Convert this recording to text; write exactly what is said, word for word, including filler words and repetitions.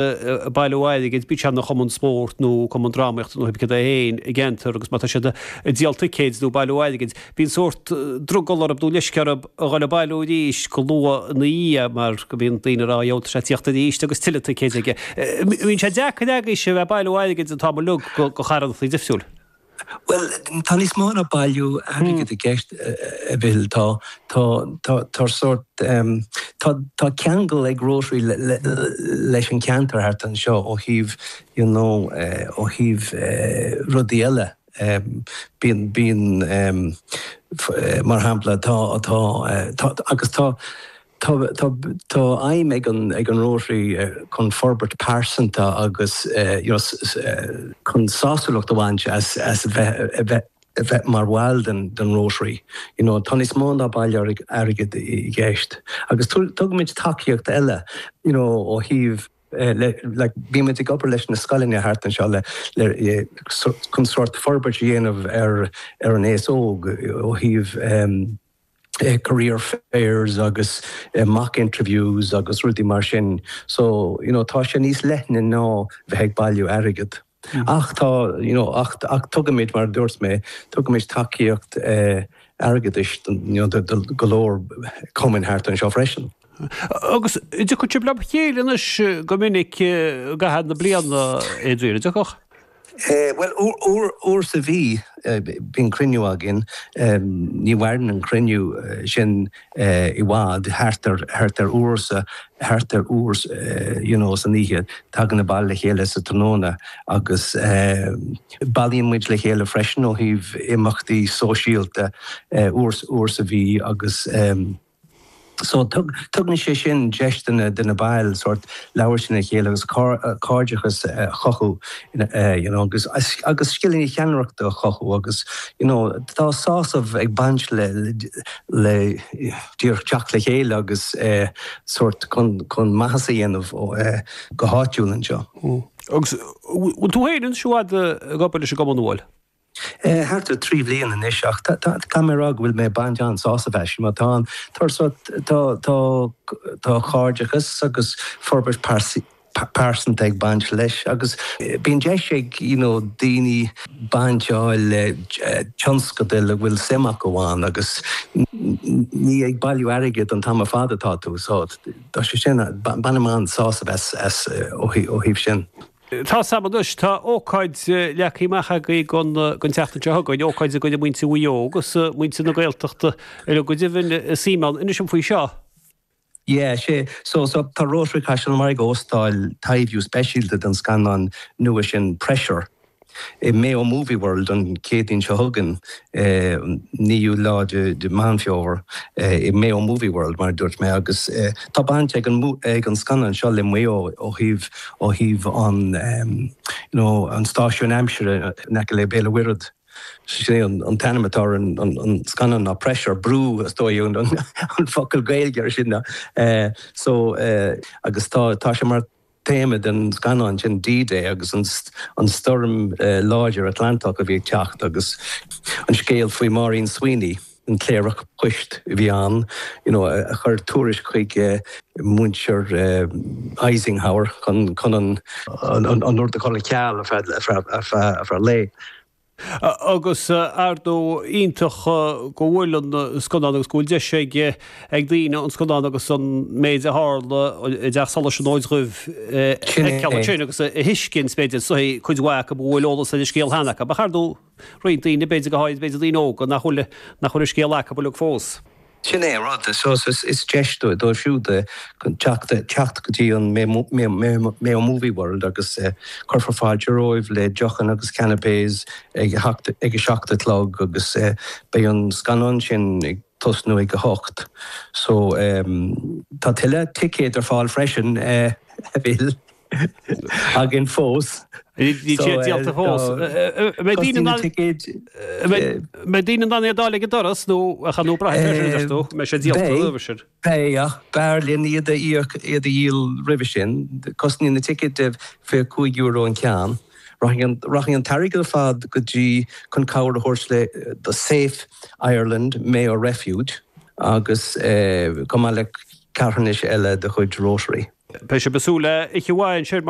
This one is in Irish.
ag bailiú airgid, bíodh sé ina chumann spóirt nó cumann drámaíochta nó cibé cad é féin i gceantar agus má tá siad ag díol ticéid nó ag bailiú airgid, bíonn sórt drogall orthu nó leisce orthu a dhul ag bailiú arís go luath ina dhiaidh mar go mbíonn daoine ag rá gheobhaidh sé tíocht arís agus tuilleadh ticéid aige. Bíonn sé deacair agaibhse a bheith ag bailiú airgid an t-am uilig go charthanachtaí difriúil. Bhuel, tá níos mó ná bailiú airgid i gceist, a Mhichíl. Tá, tá, tá, tá sórt, tá, tá ceangal ag Rotary leis an cheantar thart anseo ó thaobh, you know, ó thaobh rudaí eile. Bíonn, bíonn, mar shampla, tá, tá, tá, agus tá, Tá tá aidhm ag an ag an Rotary chun forbairt pearsanta agus you know chun sásúlacht a bhaint as as bheith a bheith a bheith mar bhall den den Rotary. You know tá níos mó ná bailiú airgid i gceist. Agus tugaimid tacaíocht eile you know ó thaobh le like bímid ag obair leis na scoileanna thart anseo le le chun sórt forbairt a dhéanamh ar ar an aos óg ó thaobh career fairs agus mock interviews agus rudaí mar sin. So, you know, tá sé níos leithne ná bheith ag bailiú airgead. Ach tá, you know, ach, ach tugaimid, mar a dúirt mé, tugaimid tacaíocht airgeadais you know, do, do go leor cumainn thart anseo freisin. Agus an dtiocfadh sibh le chéile anois go minic i gcaitheamh na bliana, Adrian, an dtiocfadh? Bhuel, uair sa mhí bíonn cruinniú againn. Ní mhaireann an cruinniú sin i bhfad, thart ar thart ar uair sa thart ar uair you know san oíche. Tagann na baill le chéile sa tráthnóna agus bailíonn muid le chéile freisin ó thaobh imeachtaí sóisialta uair uair sa mhí agus So tugann sé sin deis do na baill sórt labhairt lena chéile agus cairdeachas a chothú you know agus agus scileanna ceannaireachta a chothú agus you know tá sásamh ag baint le le díreach teacht le chéile agus sórt chun chun maitheas a dhéanamh go háitiúil anseo. Agus bhfuil tú féin anois i bhfad ag obair leis an gcumann, an bhfuil? Thart ar trí bhliain anois ach caithfidh mé a rá go bhfuil mé ag baint an-sásamh as mar tá an tá tá tá cairdeachas agus forbairt pearsanta ag baint leis agus bíonn deis ag you know daoine baint a fháil le tionscadail a bhfuil suim acu ann agus ní ag bailiú airgid an t-am ar fad atá tú so tá sé sin bainim an-sásamh as as ó thaobh sin. Tá 's agam anois, tá ócáid leagtha amach agaibh don don tseachtain seo chugainn, ócáid i gcoinne muintir Mhaigh Eo agus muintir na Gaeltachta uilig go deimhin is suim ann. Inis dom faoi seo. Yeah, sé, so, so tá Rotary Caiseal an Bharraigh ag óstáil taibhiú speisialta den scannán nua sin Pressure. I Mayo Movie World an Céadaoin seo chugainn, naoú lá de Mheán Fómhair, i Mayo Movie World, mar a dúirt mé, agus tá baint ag an ag an scannán seo le Maigh Eo ó thaobh ó thaobh an you know an stáisiún aimsire in aice le Béal an Mhuirthead. Sin é an t-ainm atá ar an an scannán ná Pressure, brú is dóigh an focal Gaeilge ar sin. So agus tá tá sé mar téama den scannán sin D-Day agus an stoirm láidir Atlantach a bhí ag teacht agus an scéal faoi Maureen Sweeney, an cléireach poist a bhí ann, you know, a chuir tuairisc chuig muintir Eisenhower chun chun an an rud a chur ar ceal ar feadh ar feadh ar feadh lae. Agus ar ndóigh iontach go bhfuil an scannán agus go bhfuil deis ag ag daoine an scannán agus an méid a tharla i dTeach Solais an Fhóid Dhuibh a fheiceáil ansin agus a thuiscint b'fhéidir so cuid mhaith acu a bhfuil eolas ar an scéal cheana acu. Ach ar ndóigh roinnt daoine b'fhéidir go háirid b'fhéidir daoine óga nach bhfuil nach bhfuil an scéal acu uilig fós. Sin é an rud. So is deis dóibh siúd teacht teacht go dtí an Mayo Movie World agus cuirfear fáilte romhaibh le deochanna agus canapés ag a ag a seacht a chlog agus beidh an scannán sin ag tosnú ag a hocht. So tá tuilleadh ticéad ar fáil freisin, a Mhichíl. againn fós. Níl siad díolta fós. An mbeidh daoine in ann iad a fháil ag an doras nó a nó braithfidh sé sin, a deir tú, mbeidh sé díolta roimhe sin. Beidh, ach b'fhearr linn iad a íoc, iad a dhíol roimhe sin. Cosnaíonn na ticéid fiche cúig euro an ceann. Rachaidh an t-airgead ar fad go dtí chun cabhair a thabhairt le do Safe Ireland Mayo Refuge agus chomh maith le carthanais eile de chuid Rotary. Beidh sibh ag súil le oíche mhaith ansin mar